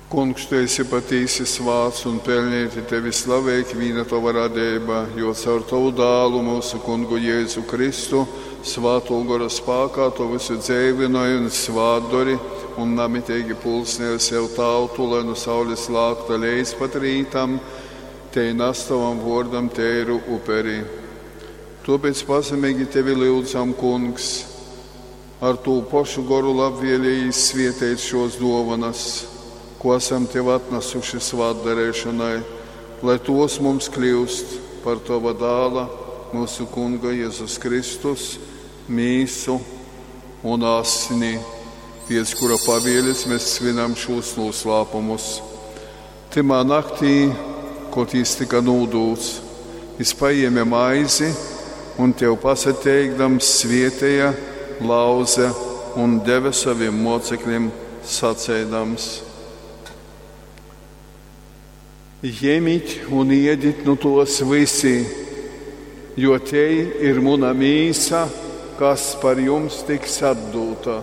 Kungs, tu esi patīsi svāts un pelnīti tevi slavē ikvīna tova radeiba, jo caur tovu dālu, myusu kungu Jēzu Kristu, svātō gora spākā tu vysu dzeivynoj un svātdori un namiteigi pulsnej sev tautu, lai nu saules lākta leidz pat rītam, tei nas tovam vōrdam teiru uperi. Tōpēc pazemeigi tevi lyudzam, Kungs, ar tū pošu goru labvēlējīs svieteit šos dōvonas, ko esam tev atnasuši svātdareišonai, lai tos mums kļūst par tova dāla, mūsu kunga Jēzus Kristus, mīsu un asni, pēc kura pavieles mēs svinam šos noslēpumus. Tymā naktī, kod jis tika nūdūts, jis paēma maizi un tev pasateikdams svietēja, lauze un deva saviem mocekļiem saceidams: Jemit un iedit nu tos visi, jo tei ir muna mīsa, kas par jums tiks atdūta.